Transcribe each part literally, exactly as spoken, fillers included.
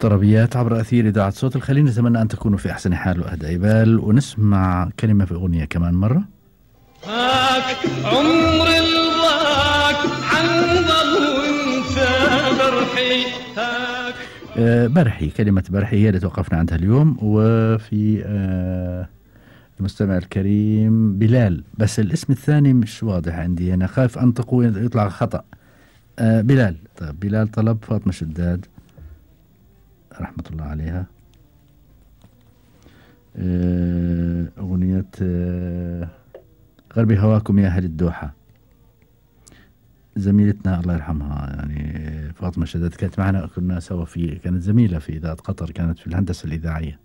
طربيات عبر أثير إذاعة صوت الخليل. نتمنى أن تكونوا في أحسن حال وأهدى بال، ونسمع كلمة في أغنية كمان مرة. هاك عمر الضاك حنظل وانت برحي. هاك آه برحي، كلمة برحي هي اللي توقفنا عندها اليوم. وفي آه المستمع الكريم بلال، بس الاسم الثاني مش واضح عندي، أنا خايف أنطقه يطلع خطأ. آه بلال. طيب بلال طلب فاطمة شداد رحمة الله عليها آه أغنية آه غربي هواكم يا أهل الدوحة. زميلتنا الله يرحمها يعني فاطمة شداد كانت معنا، كنا سوا في، كانت زميلة في إذاعة قطر، كانت في الهندسة الإذاعية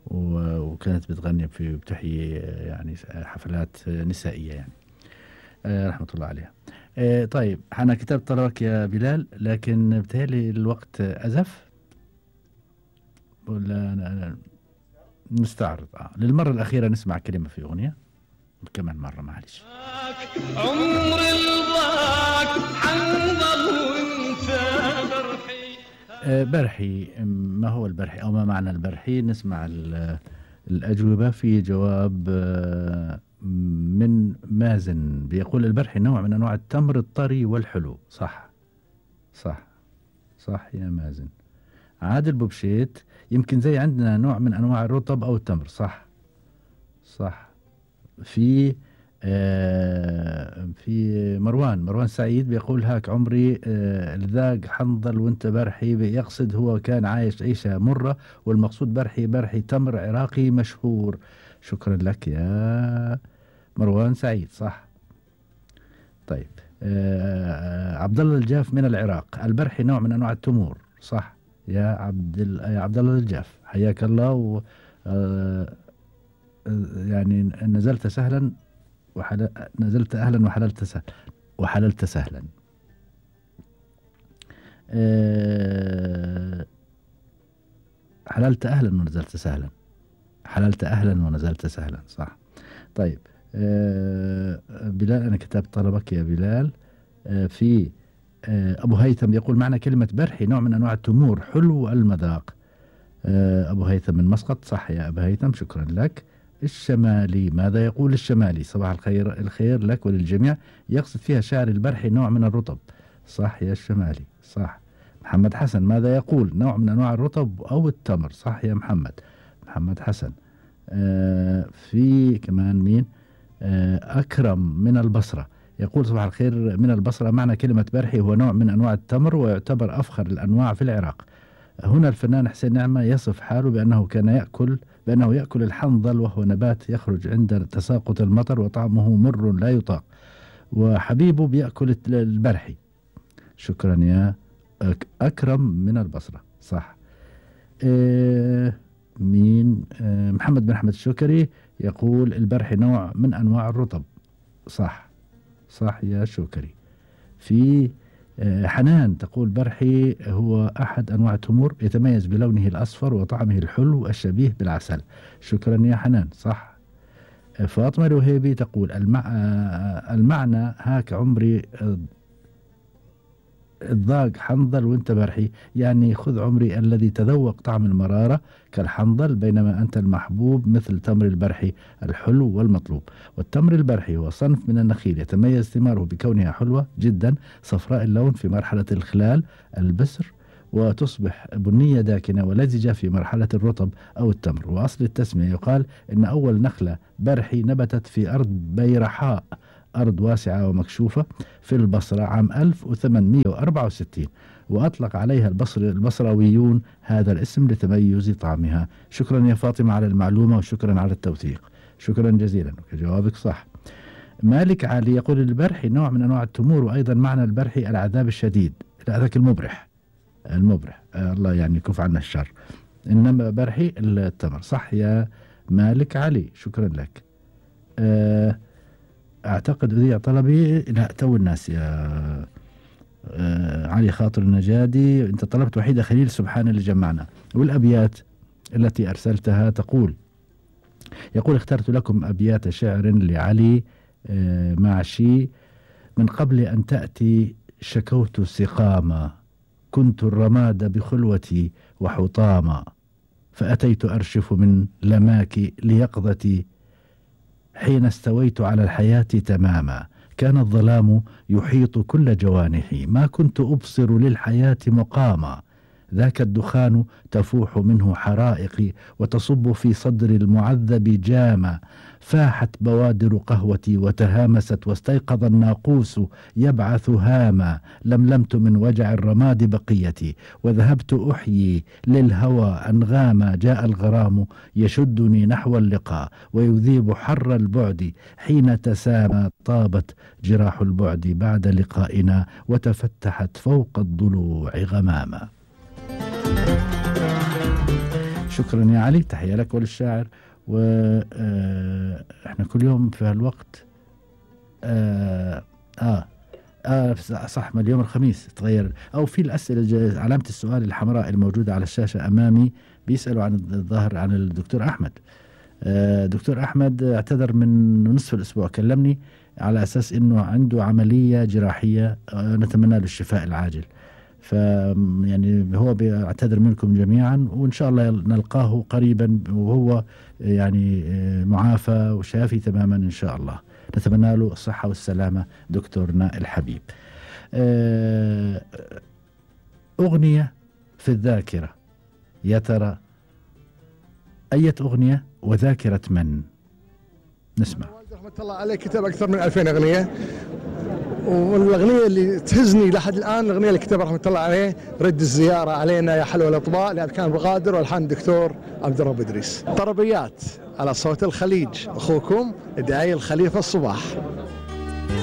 وكانت بتغني في بتحيي يعني حفلات نسائية يعني آه رحمة الله عليها. آه طيب أنا كتبت طلبك يا بلال، لكن بتهيألي الوقت أزف ولا نستعرض آه. للمرة الأخيرة نسمع كلمة في أغنية كمان مرة معلش. عمر الضاك حنظل وانت برحي. آه برحي، ما هو البرحي أو ما معنى البرحي؟ نسمع الأجوبة. في جواب آه من مازن بيقول البرحي نوع من أنواع التمر الطري والحلو. صح صح صح يا مازن. عادل بوبشيت يمكن زي عندنا نوع من أنواع الرطب أو التمر. صح صح. في آه في مروان مروان سعيد بيقول هاك عمري آه الذاق حنظل وانت برحي، يقصد هو كان عايش عيشة مرة، والمقصود برحي برحي تمر عراقي مشهور. شكرا لك يا مروان سعيد. صح. طيب آه عبد الله الجاف من العراق، البرحي نوع من انواع التمور. صح يا عبد يا عبد الله الجاف، حياك الله. و آه يعني نزلت سهلا وحل... نزلت أهلا وحللت سهلا وحللت سهلا. أه... حللت أهلا ونزلت سهلا، حللت أهلا ونزلت سهلا. صح. طيب أه... بلال أنا كتبت طلبك يا بلال. أه في أه أبو هيثم يقول معنى كلمة برحي نوع من أنواع التمور حلو المذاق. أه أبو هيثم من مسقط. صح يا أبو هيثم، شكرا لك. الشمالي، ماذا يقول الشمالي؟ صباح الخير الخير لك وللجميع، يقصد فيها شعر البرحي نوع من الرطب. صح يا الشمالي. صح. محمد حسن ماذا يقول؟ نوع من أنواع الرطب أو التمر. صح يا محمد محمد حسن. آه في كمان مين؟ آه أكرم من البصرة يقول صباح الخير من البصرة، معنى كلمة برحي هو نوع من أنواع التمر ويعتبر أفخر الأنواع في العراق. هنا الفنان حسين نعمة يصف حاله بأنه كان يأكل بأنه يأكل الحنظل، وهو نبات يخرج عند تساقط المطر وطعمه مر لا يطاق، وحبيبه بيأكل البرحي. شكرا يا أكرم من البصرة. صح. إيه مين؟ إيه محمد بن أحمد الشكري يقول البرحي نوع من أنواع الرطب. صح صح يا شكري. في حنان تقول برحي هو أحد أنواع التمور يتميز بلونه الأصفر وطعمه الحلو الشبيه بالعسل. شكرا يا حنان. صح. فاطمة الوهيبي تقول المع... المعنى هاك عمري الضاق حنظل وانت برحي، يعني خذ عمري الذي تذوق طعم المرارة كالحنظل، بينما أنت المحبوب مثل تمر البرحي الحلو والمطلوب. والتمر البرحي هو صنف من النخيل يتميز ثماره بكونها حلوة جدا صفراء اللون في مرحلة الخلال البسر، وتصبح بنية داكنة ولزجة في مرحلة الرطب أو التمر. وأصل التسمية يقال إن أول نخلة برحي نبتت في أرض بيرحاء، أرض واسعة ومكشوفة في البصرة عام ألف وثمانمئة وأربعة وستين، وأطلق عليها البصر البصراويون هذا الاسم لتميز طعمها. شكرا يا فاطمة على المعلومة وشكرا على التوثيق. شكرا جزيلا، جوابك صح. مالك علي يقول البرحي نوع من أنواع التمور، وأيضا معنى البرحي العذاب الشديد، هذاك المبرح المبرح آه الله يعني يكف عنا الشر، إنما برحي التمر. صح يا مالك علي، شكرا لك. آه أعتقد أذيع طلبي لا تو الناس يا آه علي خاطر النجادي، أنت طلبت وحيدة خليل سبحان اللي جمعنا. والأبيات التي أرسلتها تقول يقول اخترت لكم أبيات شعر لعلي آه معشي، من قبل أن تأتي شكوت سقاما كنت الرماد بخلوتي وحطاما، فأتيت أرشف من لماك ليقظتي حين استويت على الحياة تماما. كان الظلام يحيط كل جوانحي، ما كنت أبصر للحياة مقاما. ذاك الدخان تفوح منه حرائقي وتصب في صدر المعذب جاما. فاحت بوادر قهوتي وتهامست، واستيقظ الناقوس يبعث هاما. لملمت من وجع الرماد بقيتي، وذهبت أحيي للهوى أنغاما. جاء الغرام يشدني نحو اللقاء، ويذيب حر البعد حين تسامى. طابت جراح البعد بعد لقائنا، وتفتحت فوق الضلوع غماما. شكرا يا علي، تحية لك وللشاعر. واحنا كل يوم في هالوقت آه, آه, آه صح، ما اليوم الخميس تغير، او في الاسئله علامه السؤال الحمراء الموجوده على الشاشه امامي بيسالوا عن الظاهر عن الدكتور احمد. آه دكتور احمد اعتذر من نصف الاسبوع، كلمني على اساس انه عنده عمليه جراحيه، آه نتمنى له الشفاء العاجل. ف يعني هو بيعتذر منكم جميعا، وإن شاء الله نلقاه قريبا وهو يعني معافى وشافي تماما إن شاء الله. نتمنى له الصحة والسلامة دكتورنا الحبيب. أغنية في الذاكرة، يا ترى أية أغنية وذاكرة من؟ نسمع. رحمة الله عليه كتب أكثر من ألفين أغنية، والاغنيه اللي تهزني لحد الان الاغنيه اللي كتبها رحمه الله عليه رد الزياره علينا يا حلوه الاطباء، لان كان بغادر والحان الدكتور عبد الرب ادريس. طربيات على صوت الخليج، اخوكم داعي الخليفه الصباح.